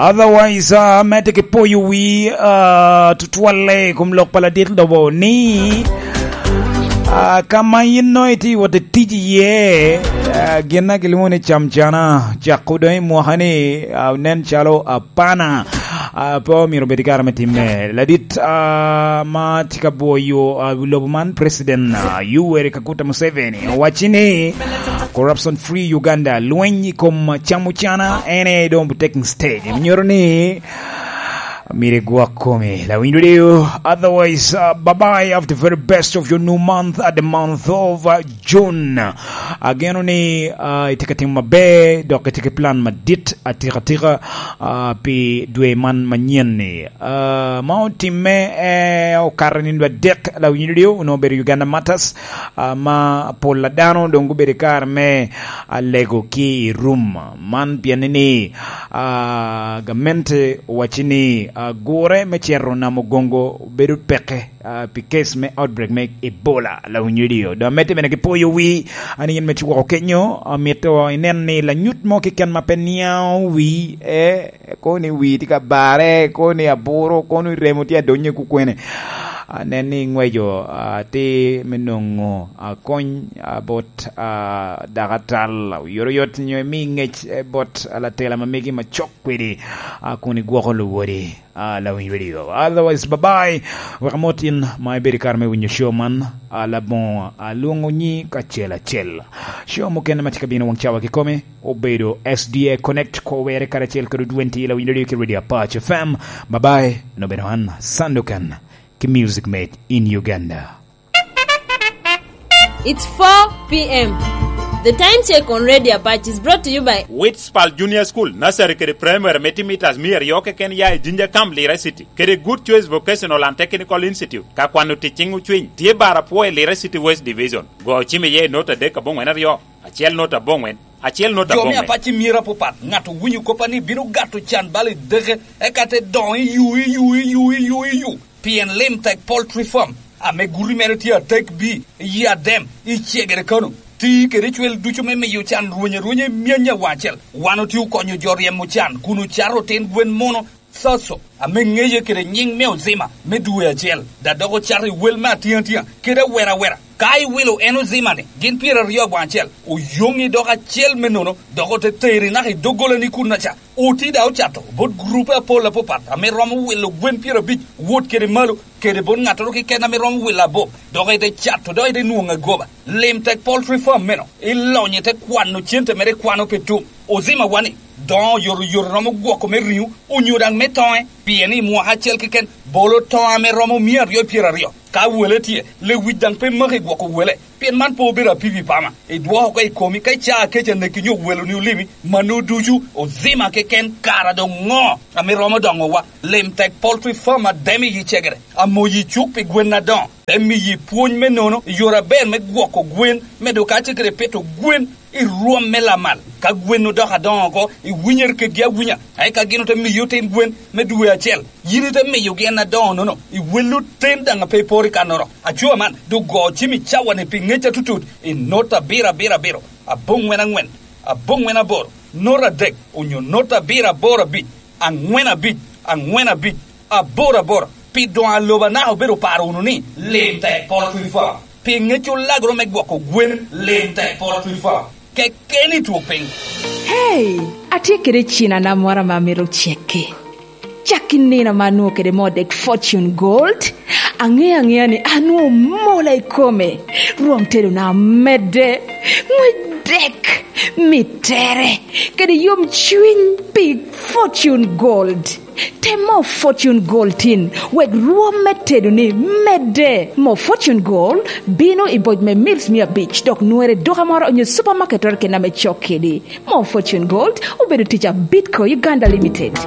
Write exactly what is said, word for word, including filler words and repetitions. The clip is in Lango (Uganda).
Otherwise, ah, medde ki poyo wi, ah, tutwalle i kom lok pa ladit lobo ni, ah, ka ma yin nongo itye wot i tic iye, ah, gin a gilwongo ni camcana, cako doŋ i mwaka ni, ah, nen calo apana, ah, pe omyero obed i kare me timme. Ladit, ah, ma tye ka bwoyo, ah, lobo man, President, ah, Yoweri Kaguta Museveni, owacci ni, Corruption Free Uganda, lweny i kom camo cana, en aye doŋ taking stage. Nyuto ni myero igwok komi, lawiny radio. Otherwise, uh, bye-bye of the very best of your new month at the month of, uh, June. Ageno ni, uh, itye ka timo maber, dok itye ki plan madit atikatika, uh, pi dwe man manyen ni. Uh, ma otimme, eh, okato nino adek, lawiny radio, onongo obedo Uganda Martyrs, ah, ma pol a dano doŋ gubedo i kare me alego ki i rum. Man pien ni, ah, gamente owacci ni, ah, gure me cito namo Gongo bedo peke, ah, pi case me outbreak me Ebola, lawiny radio. Doŋ amedde bene ki poyo wi, an yen me cwoko kenyo, amito inen ni lanyut mo keken ma pe niaŋo wi, eh, kono ni wi tye ka bare, kono ni aburo, kono ni remo tye adonyo i kukwene. Anen ni iŋweco, ah, atir me nwoŋo, ah, kony, ah, bot, ah, dakatal, oyotoyot nyo imi ŋec, eh, bot, ah, latela ma megi ma cok kwedi, ah, kun igwoko luwodi, ah, lawiny radio. Otherwise, bye-bye. Wek amot in ma ibedo i kare me winyo show man, ah, Laboŋo, ah, lwoŋo nyi kacel acel. Show mukene ma tye ka bino waŋ cawa kikome, obedo S D A Connect, ko were karacel kede Odwenti, lawiny radio ki Radio Apac F M. Bye-bye. Nobeno an, Sandukan, ki Music Made in Uganda. It's four p.m. The time check on Radio Apac is brought to you by Witspal Junior School, Nursery kede Primary, metimeters mia aryo keken ya i Jinja Camp, Lira City, kede Good Choice Vocational and Technical Institute. Ka kwano tic ciŋ ocwiny, tye bar apwo i Lira City West Division. Go cim iye i nota adek aboŋwen aryo, acel nota aboŋwen, acel nota aboŋwen. Jo me apac i myero apapat, ŋat owinyo koppa ni bino gato can bal i deke, eka te doŋo i yu, i yu, i yu, i yu, i yu. Pien Lim Tek Poultry Farm, ame guti mere tye atek bi, i Adem, i Cegere Kano, ti kede cwel ducu me miyo can rweny arwenya i myany awaŋ acel. Wan otye okonyo jo ryemo can kun ocato otin gwen muno, Soso, ame ŋeye kede nyiŋ me Ozima me dwe acel, da dok ocato i wel me atiŋatia kede awera awera. Ka iwilo en Ozima-ni, gin pyeraryo awaŋ acel, oyoŋi dok acel me nono, dok ote teri naka i doggolani kunnaca. Oti da ocato bot gurupe apol apapat ame romo wilo gwen pyerabic wot kede malo, kede bot ŋattoro keken ame romo wilo abob, dok ite cato, dok ite nwoŋo agoba. Lim Tek Poultry Farm meno, ilonyo ite kwano cente mere ikwano pe tum. Ozima wani, doŋo oyotoyot romo gwoko me riŋo, onyo daŋ me toŋe, pien i mwaka acel keken bolo toŋo ame romo mia aryo pyeraryo. Ka wele tye, lewic daŋ pe maki gwoko wele, pien man pe obedo apipi pama. Idwoko oko i komi ka icaa kec aneki nyo weloni olimi, mano ducu Ozima keken. Kara doŋ ŋo ame romo doŋowa? Lim Tek Poultry Farm Adem i Cegere, amoyi cuk pi gwen adoŋo, te miyi pwony me nono i yore aber me gwoko gwen, medo kacel kede pito gwen i rwom me lamal. Ka gwen odoko adoŋo oko, iwinyere kedgi awinya, eka gin ote miyi otin gwen me dwe acel. Yin ite miyogi en adoŋo-nono, iwello ten daŋ a pe iporo i kannoro. Aco man, doŋ go cim i cawa-ni pi ŋec atutut i nota abiro abiro abiro, aboŋwen aŋwen, aboŋwen aboro, nota adek, onyo nota abiro aboro abic, aŋwen abic, aŋwen abic, aboro aboro. Pi doŋ a lobo anaka obedo oparo wunu ni, Lim Tek Poultry Farm. Pi ŋec olagoro me gwoko gwen, Lim Tek Poultry Farm. Kekeni twok piny. Hey, atye kede cinana moro ame amito cekke. Cak i nino ame anwoŋo kede moo dek Fortune Gold, aŋeyo aŋeya ni anwoŋo mola i kome. Rwom tedona medde, ŋwec dek, mittere, kede yomcwiny pi Fortune Gold. Tem moo Fortune Gold tin, wek rwom me tedoni medde. Moo Fortune Gold bino i boc me mils mia abic, dok nwere i duka moro onyo supermarket keken ame cok kedi. Moo Fortune Gold obedo tic a Bidco Uganda Limited.